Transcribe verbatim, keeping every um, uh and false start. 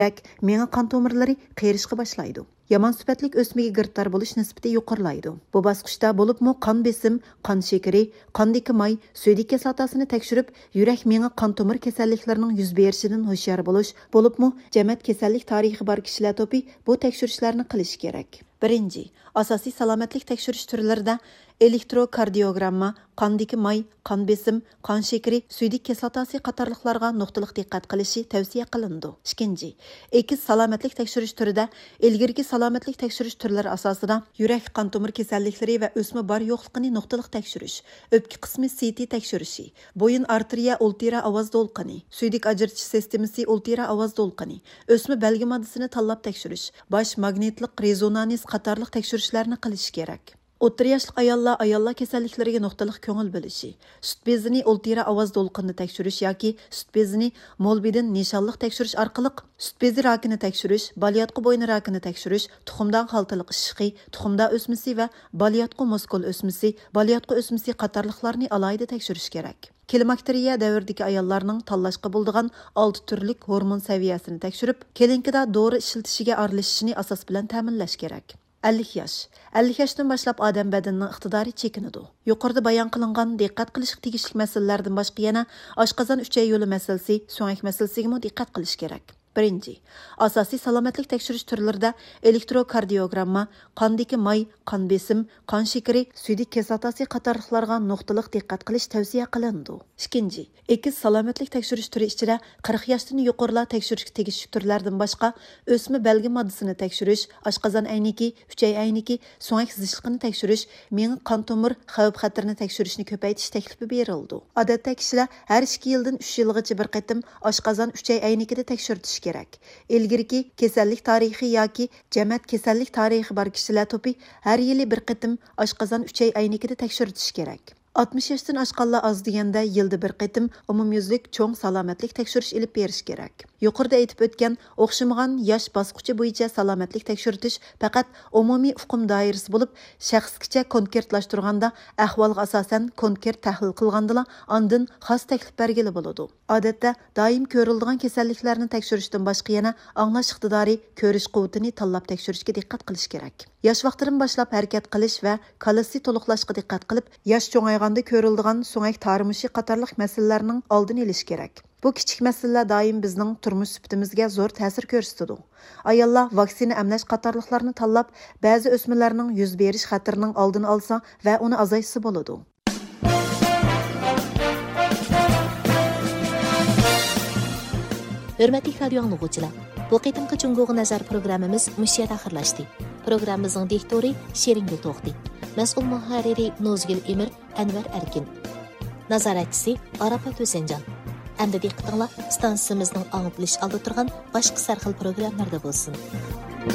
كېرەك، مېڭە قان تومۇرلىرى قېرىشقا باشلايدۇ. يامان سۈپەتلىك ئۆسمىگە گىرىپتار بولۇش نىسبىتى يۇقىرىلايدۇ. بۇ باسقۇچتا بولۇپمۇ قان بېسىم، قان شېكىرى، قاندىكى ماي، سۈيدۈك كىسلاتاسىنى تەكشۈرۈپ، يۈرەك، مېڭە، قان تومۇر كېسەللىكلىرىنىڭ يۈز بېرىشىدىن ھوشيار بولۇش، بولۇپمۇ جەمەت كېسەللىك تارىخى بار كىشىلەر توپى بۇ تەكشۈرۈشلەرنى قىلىشى كېرەك. بىرىنچى، ئاساسىي سالامەتلىك تەكشۈرۈش تۈرلىرىدە ئېلېكتروكاردىيوگرامما، قاندىكى ماي، قان بېسىم، قان شېكىرى، سۈيدۈك كىسلاتاسى قاتارلىقلارغا نۇقتىلىق دىققەت قىلىشى تەۋسىيە قىلىنىدۇ. ئىككىنچى، ئېكس سالامەتلىك تەكشۈرۈش تۈرىدە ئىلگىرىكى سالامەتلىك تەكشۈرۈش تۈرلىرى ئاساسىدا يۈرەك، قان تومۇر كېسەللىكلىرى ۋە ئۆسمە بار يوقلۇقىنى نۇقتىلىق تەكشۈرۈش، ئۆپكە قىسمى سىتى تەكشۈرۈشى، بويۇن ئارتېرىيە ئۇلترا ئاۋاز دولقۇنى، سۈيدۈك ئاجرىتىش سىستېمىسى ئۇلترا ئاۋاز دولقۇنى، ئۆسمە بەلگە ماددىسىنى تاللاپ تەكشۈرۈش، باش ماگنىتلىق رېزونانس قاتارلىق تەكشۈرۈشلەرنى قىلىشى كېرەك. ئوتتۇرا ياشلىق ئاياللار ئاياللار كېسەللىكلىرىگە نۇقتىلىق كۆڭۈل بۆلۈشى، سۈت بېزىنى ئولتىرا ئاۋاز دولقۇنىنى تەكشۈرۈش ياكى سۈت بېزىنى مولبىدىن نىشانلىق تەكشۈرۈش ئارقىلىق سۈت بېزى راكىنى تەكشۈرۈش، بالىياتقۇ بوينى راكىنى تەكشۈرۈش، تۇخۇمدان خالتىلىق ئىششىقى، تۇخۇمدان ئۆسمىسى ۋە بالىياتقۇ مۇسكۇل ئۆسمىسى، بالىياتقۇ ئۆسمىسى قاتارلىقلارنى ئالاھىدە تەكشۈرۈش كېرەك. كلىماكتېرىيە دەۋرىدىكى ئاياللارنىڭ تاللاشقا بولىدىغان ئالتە تۈرلۈك ھورمون سەۋىيەسىنى تەكشۈرۈپ، كلىنىكىدا دورا ئىشلىتىشىگە ئارىلىشىشىنى ئاساس بىلەن تەمىنلەش كېرەك. ئەللىك ياش. ئەللىك ياشتىن باشلاپ ئادەم بەدىنىنىڭ ئىقتىدارى چېكىنىدۇ. يۇقىرىدا بايان قىلىنغان دىققەت قىلىشقا تېگىشلىك مەسىلىلەردىن باشقا يەنە ئاشقازان ئۈچەي يولى مەسىلىسى، سۆڭەك مەسىلىسىگىمۇ دىققەت قىلىش كېرەك. بىرىنچى، ئاساسىي سالامەتلىك تەكشۈرۈش تۈرلىرىدە ئېلېكتروكاردىيوگرامما، قاندىكى ماي، قان بېسىم، قان شېكىرى، سۈيدۈك كىسلاتاسى قاتارلىقلارغا نۇقتىلىق دىققەت قىلىش تەۋسىيە قىلىنىدۇ. ئىككىنچى، ئېكس سالامەتلىك تەكشۈرۈش تۈرى ئىچىدە قىرىق ياشتىن يۇقىرىلار تەكشۈرۈشكە تېگىشلىك تۈرلەردىن باشقا، ئۆسمە بەلگە ماددىسىنى تەكشۈرۈش، ئاشقازان ئەينىكى، ئۈچەي ئەينىكى، سۆڭەك زىچلىقىنى تەكشۈرۈش، مېڭە قان تومۇر خەۋپ خەتىرىنى تەكشۈرۈشنى كۆپەيتىش تەكلىپى بېرىلىدۇ. ئادەتتە كىشىلەر ھەر ئىككى يىلدىن ئۈچ يىلغىچە بىر قېتىم ئاشقازان ئۈچەي ئەينىكىدە تەكشۈرتۈشى كېرەك. ئىلگىرىكى كېسەللىك تارىخى ياكى جەمەت كېسەللىك تارىخى بار كىشىلەر توپى ھەر يىلى بىر قېتىم ئاشقازان ئۈچەي ئەينىكىدە تەكشۈرتۈشى كېرەك. ئاتمىش ياشتىن ئاشقانلار ئاز دېگەندە يىلدا بىر قېتىم ئومۇميۈزلۈك چوڭ سالامەتلىك تەكشۈرۈش ئېلىپ بېرىش كېرەك. يۇقىرىدا ئېيتىپ ئۆتكەن ئوخشىمىغان ياش باسقۇچى بويىچە سالامەتلىك تەكشۈرتۈش پەقەت ئومۇمىي ئۇقۇم دائىرىسى بولۇپ، شەخسكىچە كونكرېتلاشتۇرغاندا، ئەھۋالغا ئاساسەن كونكرېت تەھلىل قىلغاندىلا، ئاندىن خاس تەكلىپ بەرگىلى بولىدۇ. ئادەتتە، دائىم كۆرۈلىدىغان كېسەللىكلەرنى تەكشۈرۈشتىن باشقا يەنە ئاڭلاش ئىقتىدارى، كۆرۈش قۇۋۋىتىنى تاللاپ تەكشۈرۈشكە دىققەت قىلىش كېرەك. ياش ۋاقتىدىن باشلاپ ھەرىكەت قىلىش ۋە كالىسى تولۇقلاشقا دىققەت قىلىپ، ياش چوڭايغاندا كۆرۈلىدىغان سۆڭەك تارىمۇشى قاتارلىق مەسىلىلەرنىڭ ئالدىنى ئېلىش كېرەك. بۇ كىچىك مەسىلىلەر دائىم بىزنىڭ تۇرمۇش سۈپىتىمىزگە زور تەسىر كۆرسىتىدۇ. ئاياللار ۋاكسىنا ئەملەش قاتارلىقلارنى تاللاپ، بەزى ئۆسمىلەرنىڭ يۈز بېرىش خەتىرىنىڭ ئالدىنى ئالسا ۋە ئۇنى ئازايتسا بولىدۇ. ھۆرمەتلىك رادىيو ئاڭلىغۇچىلار، بۇ قېتىمقى جۇڭگوغا نەزەر پروگراممىمىز مۇشۇ يەردە ئاخىرلاشتى. پروگراممىمىزنىڭ دىكتورى شېرىنگۈل توختى، مەسئۇل مۇھەررىرى نوزگۈل ئىمىر، ئەنۋەر ئەركىن. نازارەتچىسى ئاراپات ھۈسەنجان. ئەمدى دىققىتىڭلار ئىستانسىمىزنىڭ ئاڭلىتىلىش ئالدىدا تۇرغان باشقا سەرخىل پروگراممىلاردا بولسۇن.